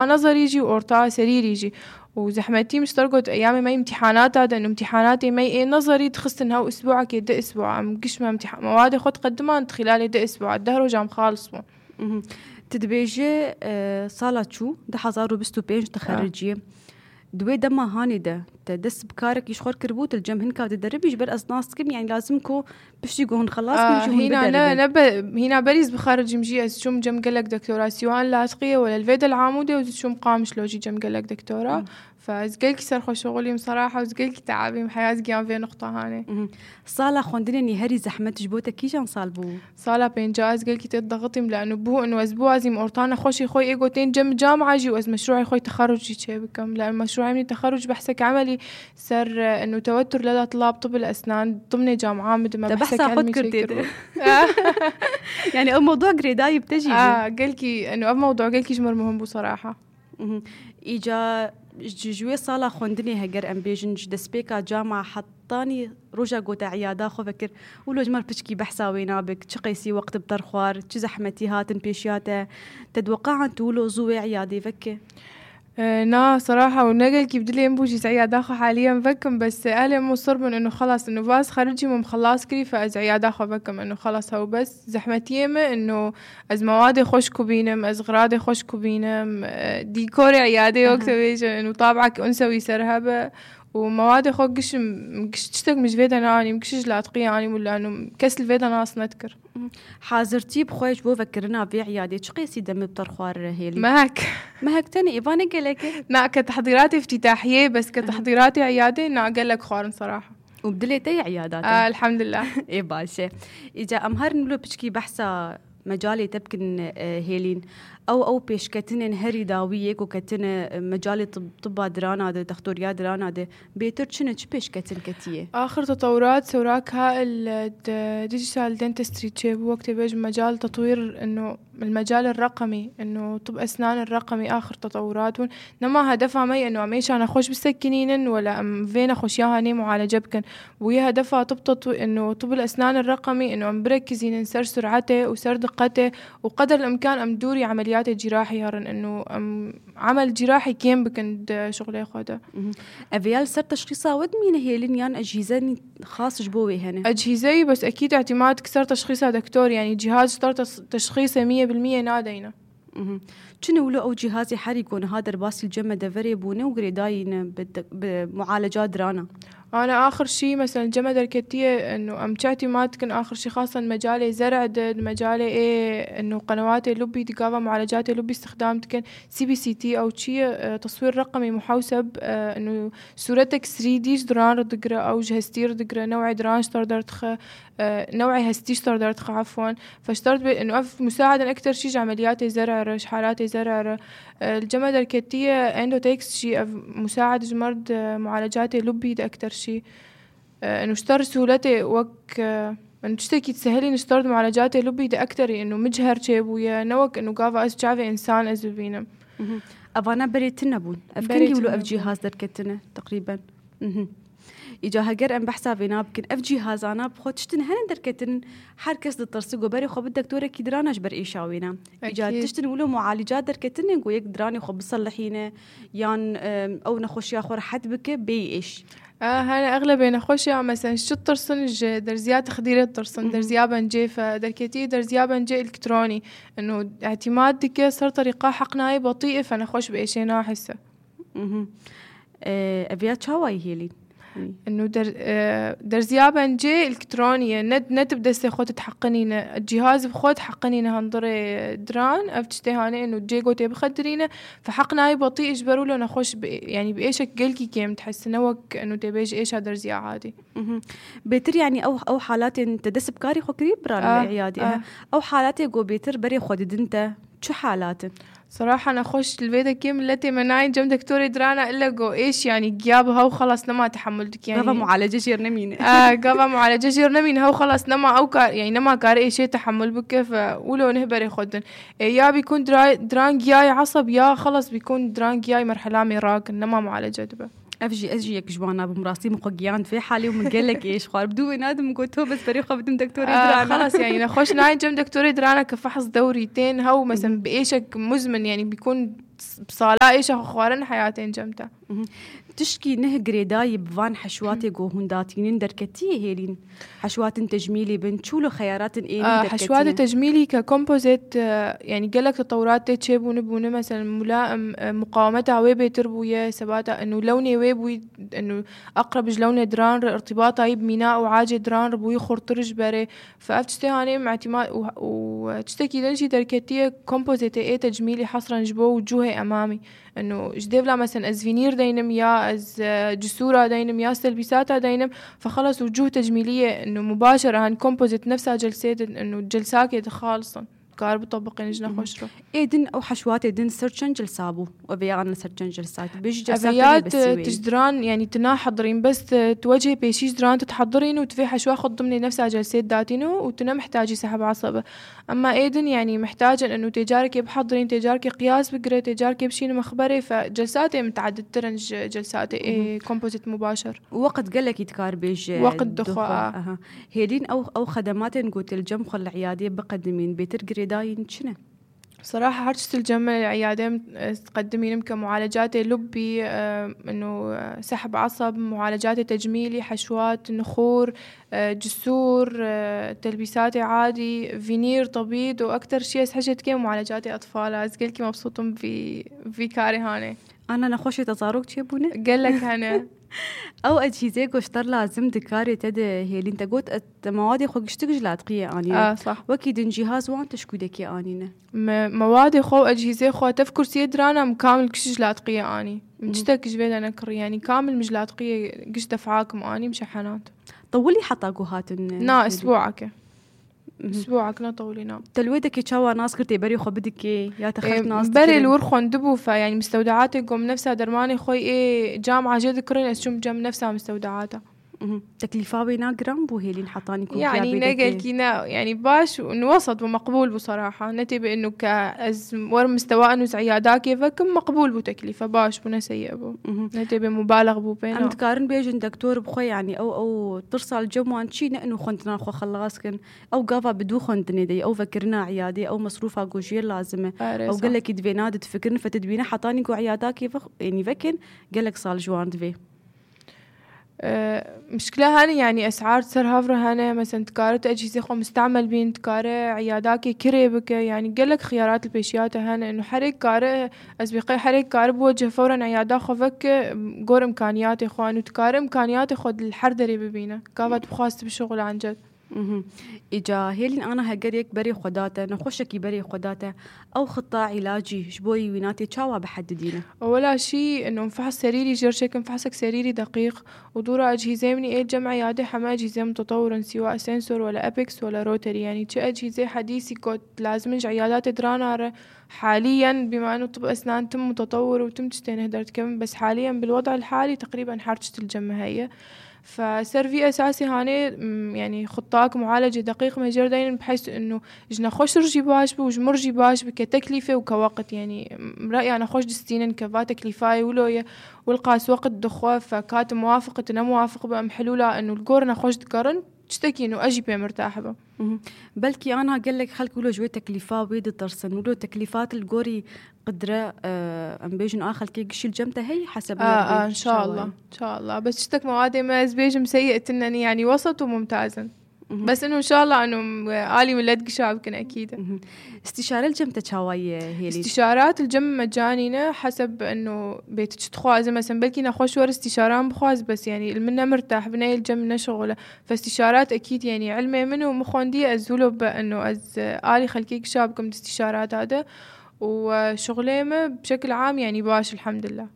نظري يجي وأورطا سرير يجي. وزحمتي مش ترقد أيامي ما امتحانات هذا إنه امتحاناتي ما نظري تخص إنها أسبوعك يدا أسبوع عم قش ما مواد خد قدمان خلال يدا أسبوع الدهر وجام خالصون. تدبيجي صالة شو ده حزارو بستو بينج تخرجيه دوي دما هاني ده تدس بكارك يشخور كربوت الجم هنكا تدرب يجبر أصناص كم يعني لازمكو بشتيقون خلاص هنا بريز بخارج مجي از شوم جم قالك دكتوراه سيوان لاصقية ولا الفيدا العامودة وشوم قامش لوجي جم قالك دكتوراه فازقلك سرخو شغلي بصراحة وزقلك تعبي محياز قيام في نقطة هاني. صالة خوندني هري زحمت جبوتك كيجان صالبو صالة بينجاز قلك تضغطي لأنه بو إنه أسبوع زي مورطانا خوشي خوي إيجوتين جم جامعة جي وأز مشروعي خوي تخرجي شيء بكم لأن مشروعي من التخرج بحسك عملي سر إنه توتر لدى طلاب طب الأسنان ضمن جامعة مدة ما بحسك علمي شيء يعني أو موضوع جريداي بتجي قلكي إنه أو موضوع قلكي جمر مهم بصراحة. إيجا جوي صالة خوندني هجر أم بيجنج دسبيكا جامعة حطاني رجع قوتا عيادة خو فكر ولو جمر بشكي بحساوي نابك تشقيسي وقت بطرخوار تزحمتي هاتن بيشياته تدوقع عن تولو زوي عيادي فكي نا صراحة ونقل كيف بدلي ينبوجي عيادة خو حاليا فكم بس أهلي مصر من إنه خلاص إنه باس خرجي من خلاص كري فأز عيادة خو فكم إنه خلاص هو بس زحمتي يمه إنه أز مواد خوش كوبينم أز غراد خوش كوبينم ديكور عيادة وقت بيجي إنه طابعك أنسوي سرهبة ومواد خو مش تشتك مش فيدا ناني مكشش لا تقياني ولا إنه كسل فيدا ناس نذكر حاضرتي بخويش بو فكرنا في عيادة تشقيسي دم بطرخوار هيلي ما هك تاني إيفاني قالك نا كتحضيراتي افتتاحية بس كتحضيراتي عيادة نا قال لك خارن صراحة وبدليتي عيادات الحمد لله. إيه باشا إجا أمهر نقوله بشكي بحثة مجالي تبكن هيلين أو بيشكتن هري داويك وكتن مجالي طب درانا ده دكتوريا درانا ده بيتر شنش بيشكتن كتيه آخر تطورات سوراكها الديجيتال دنتستري تشيب وقت بيج مجال تطوير إنه المجال الرقمي إنه طب أسنان الرقمي آخر تطوراتون نما هدفها مي إنه عميش أنا خوش بسكنين ولا أم فينا خوش ياها ني معالجة بكن ويا هدفها طب إنه طب الأسنان الرقمي إنه أم بركزين نسر سرعته وسر دقته وقدر الإمكان أم دوري عمليات جراحي هرن إنه عمل جراحي كيم بكند شغلي خده. أفيال سر تشخيصها ود مين هي لينيان أجهزة خاص جبوي هنا أجهزة بس أكيد اعتماد كسر تشخيصها دكتور يعني جهاز صار تشخيصه 100% نادينا. شنو له أو جهازي حريقون هذا الباس الجمة دفري بونه وغريداين بمعالجات درانا. أنا آخر شيء مثلا جمع دركتية إنه أمشاتي ما تكن آخر شيء خاصة مجالي زرع مجالي إيه إنه قنوات لوبي تقاوم معالجات لوبي استخدام تكن CBCT أو شيء تصوير رقمي محوسب إنه صورتك 3D دران ردقرة أو جهستي ردقرة نوعي دران اشتردرتخ نوعي هستي اشتردرتخ عفوا فاشترت إنه مساعدا أكتر شيء عمليات زرع رش حالات زرع الجمع دركتية اندوتكس شيء مساعد جمرد معالجات لوبي ده أكتر شيء إنه اشتر سهولته إنه تشتكي تسهلي نشترد معالجات لوبي ده أكتر إنه مجهر شيء ويا نوك إنه قافة أشجعه إنسان أزبينه أبانا بريتنا بون أفكني ولو أف جهاز دركتنا تقريبا إجا هجر أم بحسها بينا بكن أف جهاز أنا بخوتشتن هن دركتن حركس دترسقو بري خو بالدكتورة كيدرانا جبر إيشاوينا إجا تشتن ولو معالجات دركتن يقول يقدراني خو بصلحينه يان أو نخش ياخور حد بك بيش هنا أغلبية نخش مثلا شو الترسن درزيات تخدير الترسن درزيابا جي فدركتي درزيابا جي إلكتروني إنه اعتمادك صار طريقة حقناي بطيئة فنخش بإيشي ناحسة أبيات شواي هيلي إنه درزيابا جي إلكترونية نت بدسي خود تحقنينه الجهاز بخود حقنينه هنضري دران أفتشتي هاني إنه جي قوتي بخدرينه فحقناي بطيء إجبروا له نخش يعني بإيشك قلكي كيم تحس نوك إنه تبيج إيش هدرزيا عادي بيتر يعني أو حالات تدس بكاري خو كريب برا العيادة أو حالات يقو بيتر بري خود دنتا شو حالات صراحة أنا أخش البيت كيم التي مناي جم دكتوري درانا إلا جو إيش يعني جيابها وخلاص نما تحملتك يعني قفا معالجة جير نمين قفا معالجة جير نمين هو خلاص نما أو كار يعني نما كار إيش شيء تحمل بك فولو نهبر يخدن يا بيكون دران جاي عصب يا خلاص بيكون دران جاي مرحلة مراك نما معالجة دبا أجي يكجوانا بمراسي مقجيان في حالي ومن قال لك إيش خار بدو نادم قلت هو بس بريخة بدم دكتوري درانا خلاص يعني نخش ناي جم دكتوري درانا كفحص دوريتين هو مثلا بإيشك مزمن يعني بيكون بصالا ايش خوارن حياتين جمتا تشكي نه جريداي بفان حشواتي جو هنداتين دركتيه هيلين حشوات تجميلي بنشولو خيارات حشوات تجميلي ككومبوزيت يعني قالك تطورات تشيبون بونه مثلا ملائم مقاومتها ويبي تربويه سباتا انه لوني ويبوي انه اقرب لون دران ارتباطها بميناء وعاجي دران ربوي خرطرج بري فافتشتي هاني مع اعتماد وتشتكي دنشي دركتيه كومبوزيت تجميلي حصرا جبو وجوهي امامي انه جديفلا مثلا از فينير دينم يا از جسورة دينم يا تلبيساتها دينم فخلص وجوه تجميلية انه مباشرة هان كومبوزيت نفسها جلسات انه جلساكي خالصا كار بطبقين جنا خوشرو ايدن او حشوات ايدن سرچن جلسابو وبيان سرچن جلسات بيجي جلسات تجدران يعني تناحضرين بس توجهي بيشي جدران تتحضرين وتفي حشوة خد ضمن نفسها جلسات داتينو وتنا محتاجي سحب عصبة اما ايدن يعني محتاجة انه تجاركي بحضرين تجاركي قياس بقرة تجاركي بشين مخبري فجلساتي متعدد ترنج جلساتي كومبوزيت مباشر وقت قالك يتكار بيج وقت دخوة هيدين او خدمات نقول الجمخ العيادية بقدمين بيتر داين شنو؟ صراحة هرشت الجمل العيادة تقدمين كمعالجات لبي انه سحب عصب معالجات تجميلي حشوات نخور جسور تلبيسات عادي فينير طبيب واكثر شيء حاجت كي معالجات اطفال ازقلكي مبسوطم في كاري هاني انا نخوشي تزاروك تشيبونه قال لك انا او اجهزه قشطر لازم دكاري تد هي اللي انت قلت مواد خو قشتك لاطقيه اني صح وكيد جهاز وانت شكودك انينا مواد خو اجهزه خو تفكر سيدرانا مكامل كشج لاطقيه اني مشتك جبيد انا كر يعني كامل مش لاطقيه قش دفعاكم اني مشحنات طولي حطاكو هاتن اسبوعك اسبوعك نطولينا تلويدك يتشاوى ناس كرتي بري خو بدك يا تخف ناس بري الورخون دبو فيعني مستودعاتكم نفسها درماني خوي جامعه جد كرين اسشم جام نفسها مستودعاتها تكلفة بينا جرام بو هيلين حطاني كم يعني نقل كينا يعني باش وسط ومقبول بصراحة نتي بإنه كأز ور مستوى إنه عيادات كيفك مقبول بو تكلفة باش بو سيء بو نتي بمبالغ بو بينا عم تقارن بيجن دكتور بخوي يعني أو ترسل جموان شي إنه خنتنا خو خلاص كن أو قافا بدو خنتني دي أو فكرنا عيادي أو مصروفها جوجير لازمة أو قال لك يدفينا تفكرنا فتدبينا حطاني كو عيادات كيفك يعني فكن قال لك صال جوان دفي مشكلة هاني يعني أسعار سرهافرة هاني مثلا تكارت أجهزة خو مستعمل بين تكارة عياداكي كريبك يعني قالك خيارات البيشيات هاني إنه حريك كارة أسبقي حريك كارة بوجه فورا عيادا خو فك قور إمكانياتي خو أنو تكارة إمكانياتي خو الحردري ببينا كافت بخواست بالشغل عن جد إجا هيلين أنا هجريك بري خداته نخشكي بري خداته أو خطة علاجي شبوي ويناتي تشاوا بحددينه ولا شيء إنه مفحص سريري جرشك مفحصك سريري دقيق ودورة أجهزة مني إيه الجمع عيادة حما أجهزة متطورة سواء سنسور ولا أبيكس ولا روتري يعني شيء أجهزة حديثي كود لازمنج عيادات درانة حاليا بما إنه طب أسنان تم متطور وتم تشتين هدرت كم بس حاليا بالوضع الحالي تقريبا حرشت الجمع هي فسر أساسي هاني يعني خطاك معالجة دقيق مجردين بحيث إنه جنا خوش رجي باش بوجمر رجي باش كتكلفة وكوقت يعني رأيي أنا خوش دستينن كفا تكلفاي ولوية والقاس وقت دخوة فكات موافقة أنا موافق بأم حلولة إنه الجورنا خوش تقارن تشتكي إنه أجي بيه مرتاحة بقى بلكي أنا قال لك خلك ولو جوي تكلفة ويد ترسن ولو تكلفات الجوري قدرة أم بيجن آخر كي قشيل جمته هي حسب إن شاء الله إن شاء الله بس تشتك موادي ما بيجم سيئة إنني يعني وسط وممتازا بس إنه إن شاء الله إنه عالي من لدق شعب كنا أكيد استشارة الجمة شواية هي استشارات الجمة مجانية حسب إنه بيتك تخواز مثلا بلكي نخوش ور استشاران بخواز بس يعني المنا مرتاح بناي الجمة شغله فاستشارات أكيد يعني علمي منه ومخوندي أزوله بأنه آلي خلكيك شابكم استشارات هذا وشغليمه بشكل عام يعني باش الحمد لله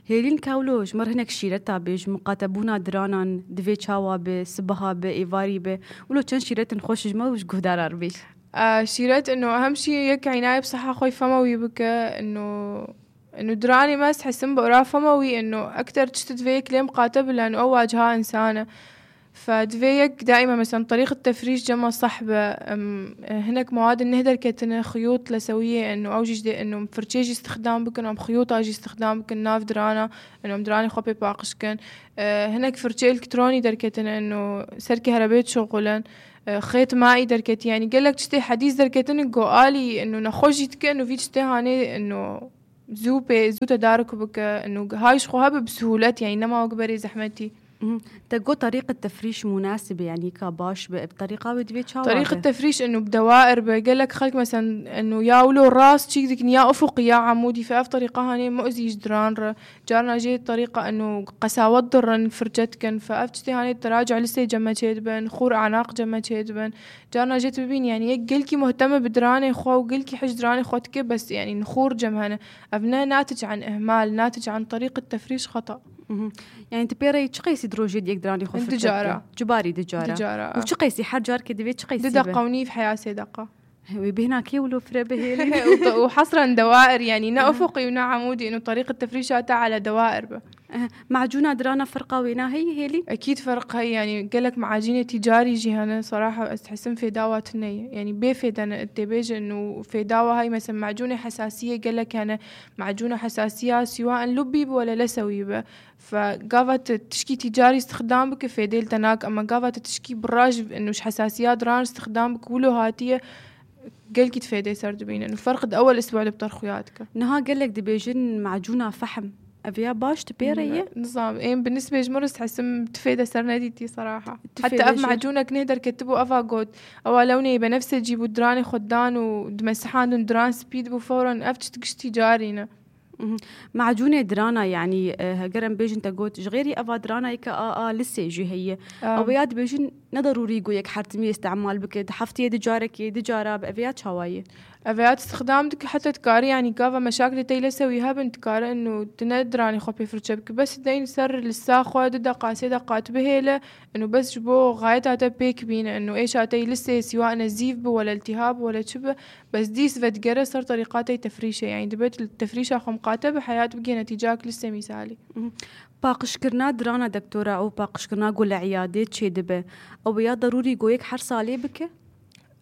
هيلين كاولوج مر هناك شيرتا بيج مقاتبونا درانان دفي تشاوا بسبها بايفاري ب ولو كان شيرت نخوش جما وش قدار بيش شيرت انه اهم شيء يك عنايه بصحه خوي فموي بك انه دراني ما حسن بقرا فموي انه اكثر تشتدفيك ليه مقاتب لانه اواجهها انسانه فدفيك دائما مثلا طريقة تفريش جمع صحبة هناك مواد النهدر كتنا خيوط لسوية انه اوجج انه فرشيجي استخدام بكن ام خيوط اجي استخدام بكن ناف درانا انه دراني خبي باقش كن هناك فرشي الكتروني دركتنا انه سركي هربيت شغلا خيط مائي دركت يعني قال لك تشتي حديث دركتنا قالي انه نخوجي تك انه في تشتي هاني انه زو تدارك بك إنه هاي شخوها بسهولة يعني نما وقبري زحمتي. تقول طريقة تفريش مناسبة يعني كباش بطريقة ودبي طريقة تفريش إنه بدوائر بقول لك خلق مثلا إنه يا ولو راس شيء ذيك يا أفقي يا عمودي فأف طريقة هني مؤذي جدران جارنا جيت طريقة إنه قساوة ضرن فرجتكن فأفتي هني التراجع لسه جمع بن خور أعناق جمع بن جارنا جيت ببين يعني قلكي مهتمة بدراني خو وقلكي حج دراني خوتك بس يعني نخور جمهنا أبناء ناتج عن إهمال ناتج عن طريقة تفريش خطأ. يعني انت بيري تشقيسي دروجي ديك دراني خو دجارة جباري دجارة وتشقيسي حجار كدبي تشقيسي دقة ونيف حياة دقة وبهناكي ولو فرا بهيلي وحصرا دوائر يعني نا أفقي ونا عمودي إنه طريقة تفريشاتها على دوائر معجونة درانا فرقة وينا هيلي أكيد فرق هي يعني قالك معاجينة تجاري جهنا صراحة أستحسن في داوات يعني بيفيد أنا التبيج إنه في داوة هاي مثلا معجونة حساسية قالك أنا معجونة حساسية سواء لبي ولا لسوي فقافت تشكي تجاري استخدام بك في ديل تناك أما قافت تشكي براج إنه حساسيات دران استخدام بك ولو هاتية قالك تفيدي سردبين إنه فرق أول أسبوع بترخياتك نها قالك دبيجن معجونة فحم أبيا باش تبيريه نظام بالنسبة لجمرس تحسم تفيدة سرناديتي صراحة حتى أف معجونك نهدر كتبوا أفا قود أو لوني بنفس تجيبوا دراني خدان ودمسحان دران سبيد بفورا أفتش تقشتي جارينا معجونة درانا يعني قرن بيجن تقول غيري أفا درانا يكا لسه يجي هي أبيات بيجن نضروري يقولك حرتمي استعمال بك حفتي دجارك دجارة بأبيات شواية أفيات استخدامك حتى تكاري يعني كافة مشاكل تيلا سويها بنتكار إنه تندراني خبي فرشبك بس دين سر للساخوة دقة دقات بهيلة إنه بس جبو غايتها تبيك بينا إنه إيش هاتي لسه سواء نزيف ولا التهاب ولا شبه بس ديس فتقرر صار طريقاتي تفريشة يعني دبت التفريشة خمقاتها بحياة بقي نتيجاك لسه مثالي. باقش كرنا درانا دكتورة أو باقش كرنا قول عيادات شي دبه أو بيا ضروري قويك حر صالي بك؟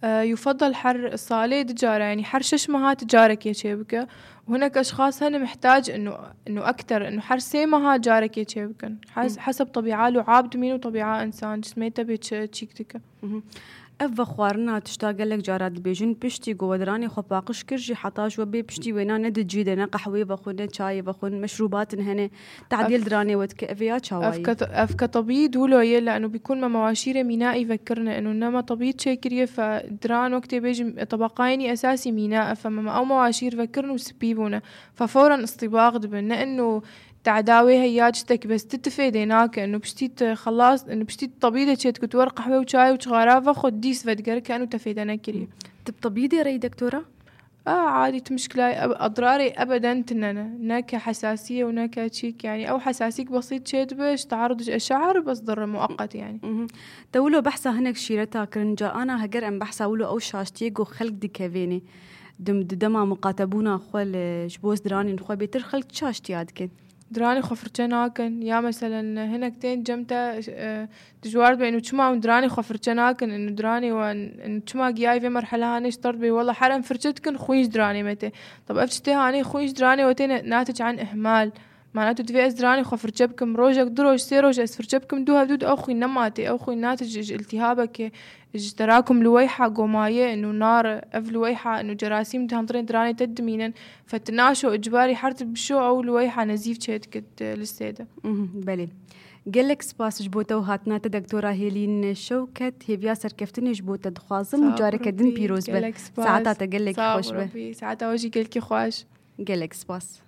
يفضل حر صالي دجارة يعني حر ششمها تجارك يا شيبك وهناك أشخاص هنا محتاج إنه أكتر إنه حر سيمها جارك يا شيبك حسب طبيعة له عابد مين وطبيعة إنسان جسميته بتشيكتك. أف خوارنا تشتاق لك جارات بيجن بشتي قودراني خو باقش كرجي حطاش وبي بشتي وينا ند جيدنا قحوي بخون شاي بخون مشروبات هنا تعديل دراني ودك أفيات شواي أفك طبيب ولو يلا إنه بيكون ما مواشير ميناء يفكرنا إنه إنما طبيب شكريه فدران وقت بيجي طبقايني أساسي ميناء فما أو مواشير فكرنا وسبيبونا ففورا اصطباغ دبنا إنه تعداوي هياجتك بس تتفيديناك انه بشتيت خلاص انه بشتيت طبيده شيت كنت ورق قهوه وشاي وشغرافه خد ديس فدقر كانوا تفيدنا كريه طبيده ري دكتوره عادي مشكله اضراري ابدا تننا ناك حساسيه وناك تشيك يعني او حساسيك بسيط شيت باش تعرض الشعر بس ضر مؤقت يعني تولو بحثا هناك شيرتها كرنجا انا هجر ام بحثا ولو او شاشتيغو خلق ديكافيني دما مقاتبونا خول جبوز دراني نخو بيتر خلق شاشتياد كن دراني خفرتشناكن يا مثلا هنا كتين جمتا تجوارد بأنه تشما دراني خفرتشناكن إنه دراني وإنه تشما جاي في مرحلة هاني اشترط بي والله حرام فرشتكن خويش دراني متى طب أفتشتي هاني خويش دراني وتين ناتج عن إهمال معناته تفي أزدراني خفرتشبكم روجك دروج سيروج أسفرتشبكم دوها دود أو خوي نماتي أو خوي ناتج التهابك تراكم لويحة قوماية إنه نار أف لويحة إنه جراثيم تهنطرين دراني تدمينا فتناشو إجباري حرت بشو أو لويحة نزيف شيت كت للسيدة. بلي قلك سباس جبوتا وهاتنا دكتورة هيلين شوكت هي بياسر كفتني جبوتا دخوازم وجارك دن بيروز بل ساعتها تقلك خوش به ساعتها وجي قلك خوش قلك سباس